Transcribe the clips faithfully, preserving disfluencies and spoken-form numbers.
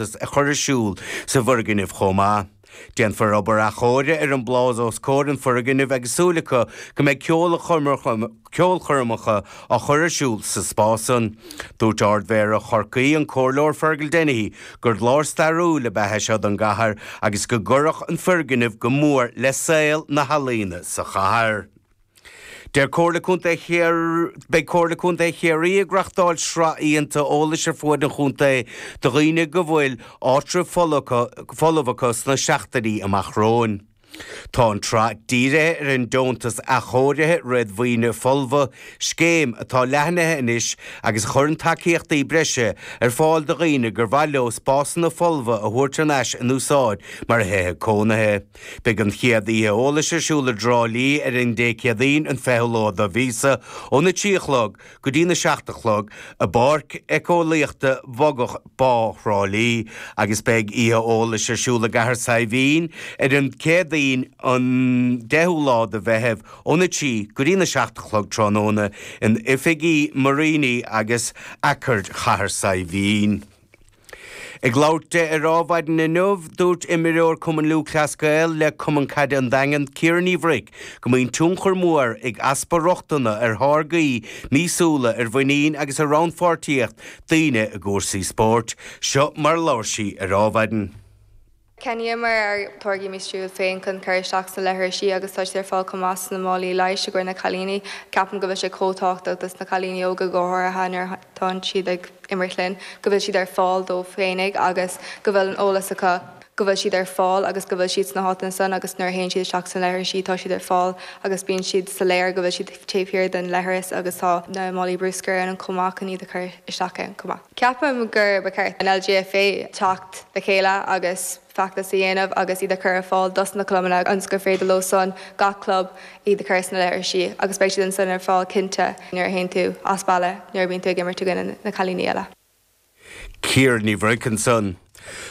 a chur ar siúl sa bhfoirgneamh chomh maith. Déanfar obair athchóirithe ar an bpláza os comhair an fhoirgnimh agus súil acu go mbeidh ceolchoirmeacha á chur ar siúl sa spás san. Dúirt Ardmhéara Chorcaí an Comhairleoir Fergal Dennehy gur lár stairiúil ab ea é seo don gcathair agus go gcuirfeadh an foirgneamh go mór le saol na healaíona sa chathair. Deir Comhairle Contae Chiar Beidh Comhairle Contae Chiarraí ag reáchtáil sraith oícheanta eolais ar fuaid an chontae do dhaoine go bhfuil áitreabh folamh acu sna seachtainí amach romhainn. Tá an tsraith dírithe ar an deontas athchóirithe réadmhaoine folmha, scéim atá leathnaithe anois agus a chuireann tacaíochtaí breise ar fáil do dhaoine gur mhaith leo spásanna folmha a thabhairt thar n-ais in úsáid mar thithe cónaithe. Beidh an chéad oíche eolais ar siúl i dTrá Lí ar an Dé Céadaoin an fichiú lá de mhíosa óna trí a chlog go dtí na seacht a chlog i bPáirc Éiceolaíochta Bhogach Bá Thrá Lí agus beidh oíche eolais ar siúl i gCathair Saidhbhín ar an Céadaoin an deichiú lá de Mheitheamh óna trí go dtí na seacht a chlog tráthnóna in oifigí Muiríní agus Aicearra Chathair Saidhbhín. Ag labhairt di ar Adhmhaidin inniu, dúirt imreoir Cumann Lúthchleas Gael le Cumann Caide an Daingin, Ciara Ní Bhruic, go mbíonn tionchar mór ag easpa rochtana ar tháirgí míosúla ar mhuinín agus ar rannpháirtíocht daoine i gcúrsaí spóirt. Seo mar a labhair sí ar Adhmhaidin. Cheannaíomar ár dtáirgí míosúil féin chun cur isteach sna leithrisí agus tá siad ar fáil chomh maith sna málaí leighis i gcomhair na cailíní. Ceapaim go bhfuil sé chomh tábhachtach dos na cailíní óga go háirithe nuair atá siad ag imirt linn, go bhfuil siad ar fáil dóibh féinig agus go bhfuil an eolas acu go bhfuil siad ar fáil agus go bhfuil siad sna háiteanna san agus nuair a théann siad isteach sna leithrisí tá siad ar fáil agus bíonn siad soiléir go bhfuil siad taobh thiar den leithreas agus tá na málaí bruscair ann chomh maith chun iad a chur isteach ann chomh maith. Ceapaim gur ba cheart an LGFA teacht le chéile agus feachtas a dhéanamh agus iad a chur ar fáil dos na clubanna ionas gur féidir leo san gach club iad a chur sna leithrisí agus beidh siad ansan ar fáil cinnte nuair a théann tú as baile nuair a bhíonn tú ag imirt i gcoinne na cailíní eile. Ciara Ní Bhruic ansan.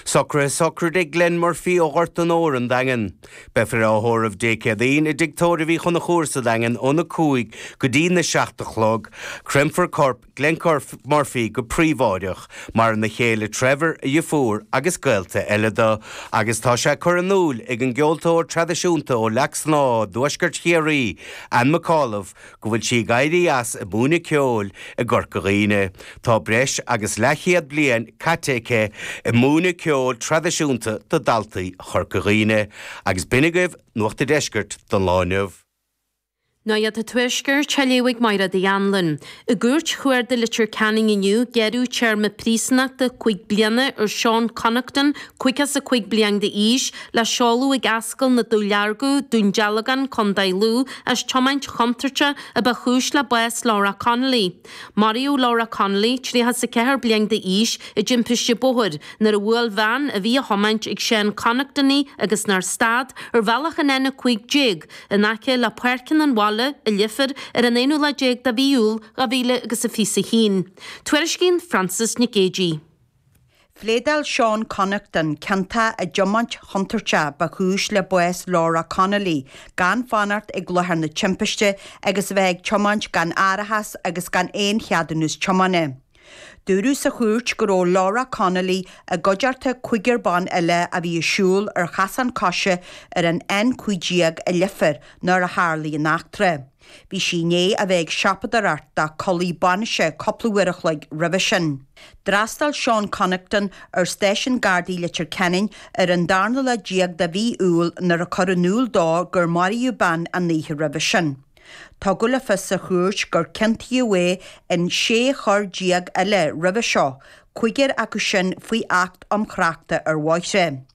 Socruithe sochraide Glenn Murphy ó Ghort an Óir an Daingean. Beifear á thórramh Dé Céadaoin i dTigh Tórraimh Uí Chonchúir sa Daingean óna cúig go dtí na seacht a chlog. Créamfar corp Glenn Murphy go príobháideach, maireann a chéile Trevor, a dheirfiúr agus gaolta eile dó, agus tá sé curtha in iúl ag an gceoltóir traidisiúnta ó Leac Snámha i dtuaisceart Chiarraí, Ann McAuliffe, go bhfuil sí ag éirí as ag múineadh ceoil i gCorca Dhuibhne. Tá breis agus leathchéad bliain caite aici ag múineadh ceoil traidisiúnta do dhaltaí Chorca Dhuibhne, agus b'in agaibh Nuacht an Deiscirt don lá inniu. Nuacht an Tuaiscirt á léamh ag Máire Anlin. I gcúirt chuarda Leitir Ceanainn inniu gearradh téarma príosúnachta cúig bliana ar Seán Connaughton, caoga is a cúig bliain d'aois, le seoladh ag Ascaill na Dúlearga, Dún Dealgan, Contae Lú, as tiomáint chontúirteach a ba chúis le bás Laura Connolly. Maraíodh Laura Connolly, tríocha is a ceathair bliain d'aois, i dtimpiste bóthair nuair a bhuail veain a bhí á thiomáint ag Seán Connaughton í agus nár stad ar bhealach an N a cúig déag in aice le Páirceanna an Bhaile i Leifear ar an aonú lá déag de mhí Iúil dhá mhíle agus a fiche a haon. Tuairiscíonn Frances Nic Géadaigh. Phléadáil Seán Connaughton ciontach i dtiomáint chontúirteach ba chúis le bás Laura Connolly, gan fanacht ag láthair na timpiste agus a bheith ag tiomáint gan árachas agus gan aon cheadúnas tiomána. Dúradh sa chúirt go raibh Laura Connolly i gcuideachta cúigear ban eile a bhí ag siúl ar chosán coise ar an N cúig déag i Leifear nuair a tharlaigh an eachtra. Bhí sí i ndiaidh a bheith ag siopadóireacht dá culaith bainise cúpla uair a chloig roimhe sin. D'fhreastail Seán Connaughton ar stáisiún Gardaí Leitir Ceanainn ar an darna lá déag de mhí Iúil nuair a cuireadh in iúl dó gur maraíodh bean an oíche roimhe sin. Tugadh le fios sa chúirt gur ciontaíodh é in sé choir déag eile roimhe seo, cúigear acu sin faoi Acht um Thráchta ar Bhóithre.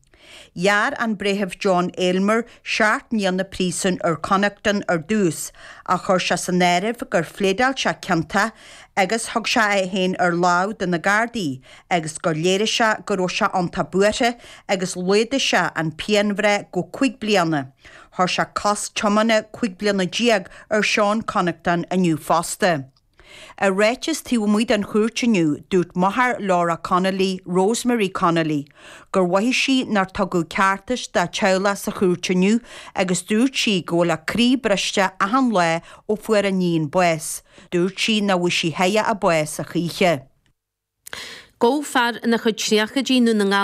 Ghearr an Breitheamh John Aylmer seacht mbliana príosúin ar Connaughton ar dtús, ach chuir sé san áireamh gur phléadáil sé ciontach agus thug sé é féin ar láimh do na Gardaí agus gur léirigh sé go raibh sé iontach buartha agus laghdaigh sé an pianbhreith go cúig bliana. Chuir sé cosc tiomána cúig bliana déag ar Seán Connaughton inniu fosta. I ráiteas taobh amuigh den chúirt inniu, dúirt máthair Laura Connolly, Rosemary Connolly, gur mhothaigh sí nár tugadh ceartas dá teaghlach sa chúirt inniu agus dúirt sí go bhfuil a croí briste achan lá ó fuair a níon bás. Dúirt sí nach bhfuair sí a bás a choíche. Gabhadh fear ina chuid tríochaidí i nDún na nGall